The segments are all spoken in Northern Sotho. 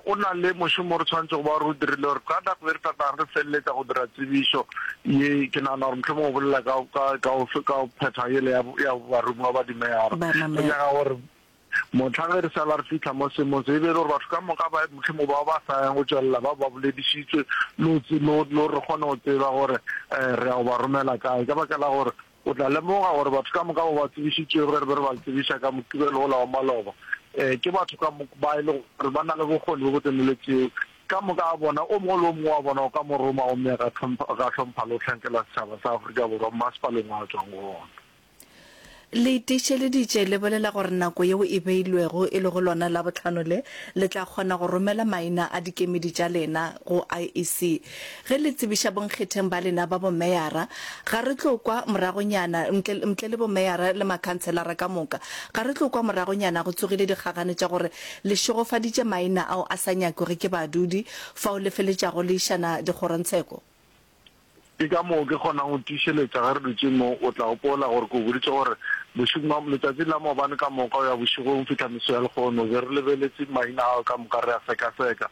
go na le mošomo o re tshwanetše go ba re o dirile gore ka nako e re tla tlang re feleletša go dira tsebišo ye, ke nagana gore mohlomongwe o bolela ka, ka, ka go, ka go phetha yela ya, ya baromiwa ba dimeyara. Re nyaka gore mohla ge re sala re fihla mo seemong se, e be e le gore batho ka moka ba, mohlomongwe bao ba sa yang go tšwelela ba ba boledišitšwe le go, le go, le gore re kgone go tseba gore re ya go ba romela kae. Ka baka la gore O tla lemoga gore batho ka moka bao ba tsebišitšwego ge re be re ba tsebiša ka Mokibelo wola wa maloba, ke batho ka moka ba e lego gore ba na le bokgoni bjo bo tseneletšego. Ka moka ga bona, o mongwe le o mongwe wa bona o ka mo roma gomme a ka hlompha le go hlankela setšhaba sa Afrika Borwa mmasepaleng wo a tšwago go wona. Le tiišeleditše le bolela gore nako yeo e beilwego, e lego lona Labohlano le, le tla kgona go romela maina a dikemedi tša lena go IEC. Ge le tsebiša bonkgetheng ba lena ba bomeyara, ga re tlo kwa moragonyana, ntle, ntle le bomeyara le makhanselara ka moka, ga re tlo kwa moragonyana go tsogile dikgagane tša gore le šegofaditše maina ao a sa nyakwege ke badudi, fao le feletšago le išana dikgorongtsheko. Ke ka moo ke kgonang go tiišeletša ge re dutše mo. O tla gopola gore ke o boditše gore bošegong ba, letšatšing la maobane ka moka go ya bošegong fihla meso ya lehono, be re lebeletše maina ao ka moka re a sekaseka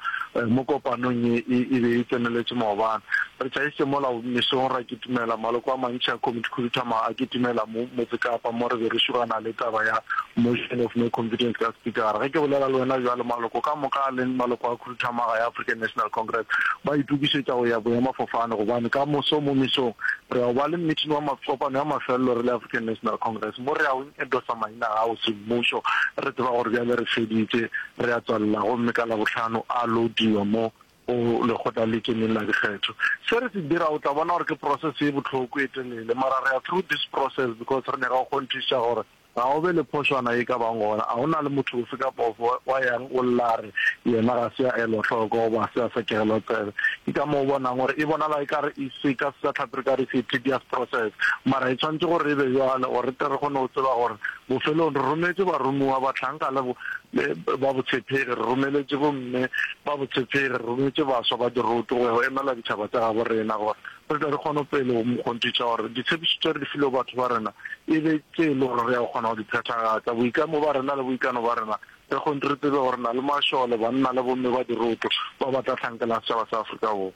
mo kopanong ye e, e be e tseneletše maobane. Re tšhaišitše mola mesong ra kitimela, maloko a mantši a Komiti Khuduthamaga a kitimela mo Motsekapa mo re be re šugana le taba ya motion of no confidence ka Spikara. Ge ke bolela le wena bjalo, maloko ka moka a leng maloko a Khuduthamaga ya African National Congress ba itokišetša go ya boemafofane gobane ka moso mo mesong re ya go ba le meeting wa kopano ya mafelelo re le African National Congress mo re ya go endosa maina ao semmušo re tseba gore bjale re feditše re ya tswalela gomme ka Labohlano a loadiwa mo go lekgotla le kemeng la dikgetho. Se re se dira o tla bona gore ke process ye bohloko e telele mara re ya through this process because re nyaka go kgonthiša gore Ga go be le phošwana ye ka bang gona. A go na le motho ofe kapa ofe wa yang o lla a re yena ga se a elwa hloko goba ga se a sekegelwa tsebe? Ke ka moo o bonang gore e bonala ekare e se ka Sejatlhapi re ka re it's a tedious process. Mara e tshwanetše gore e be bjalo gore re tle re kgone go tseba gore bofelong re rometše baromiwa, bahlanka le ba botshepegi, re romeletše bomme ba botshepegi, re rometše baswa ba diroto go ya go emela ditšhaba tša gabo rena gore re tle re kgone pele go kgonthiša gore ditshepišo tše re di filego batho ba rena e be tše e le gore re ya go kgona go di phethagatša. Boikamo ba rena le boikano ba rena, re kgonthe re tsebe gore re na le mašole, banna le bomme ba diroto ba ba tla hlankelang setšhaba sa Afrika Borwa.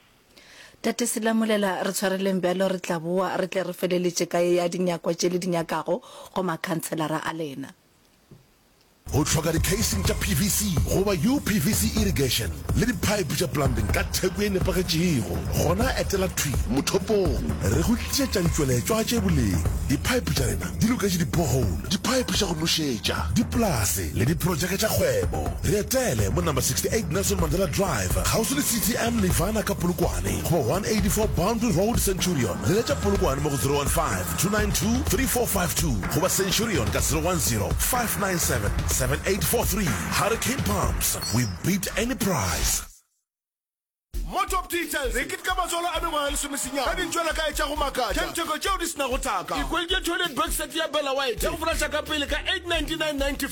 Tate Selamolela, re tshwareleng bjalo, re tla boa re tle re feleletše ka ye ya dinyakwa tše le di nyakago go makhanselara a lena. Go hloka di-casing tša PVC goba UPVC irrigation le di-pipe tša plumbing ka theko ye nepagetšego? Gona etela thwi mothopong. Re go tlišetša ditšweletšwa tše boleng. Di-pipe tša rena di loketše di-borehole, di-pipe tša go nošetša, dipolase le diprojeke tša kgwebo. Re etele mo number 68 Nelson Mandela Drive, kgauswi le CTM Nirvana ka Polokwane goba 184 Boundary Road, Centurion. Leletša Polokwane mo go 015 292 3452 goba Centurion ka 010 597 7843. Hurricane Pumps, we beat any price. Mo Top Details, re keteka matswalo a mengwaga e lesomesenyane ka dintšwelakae tša go makatša tša ditheko tšeo di se nago thaka. Ikhweletše toilet box set ya Bella White ya go folasha ka pele ka 899.95.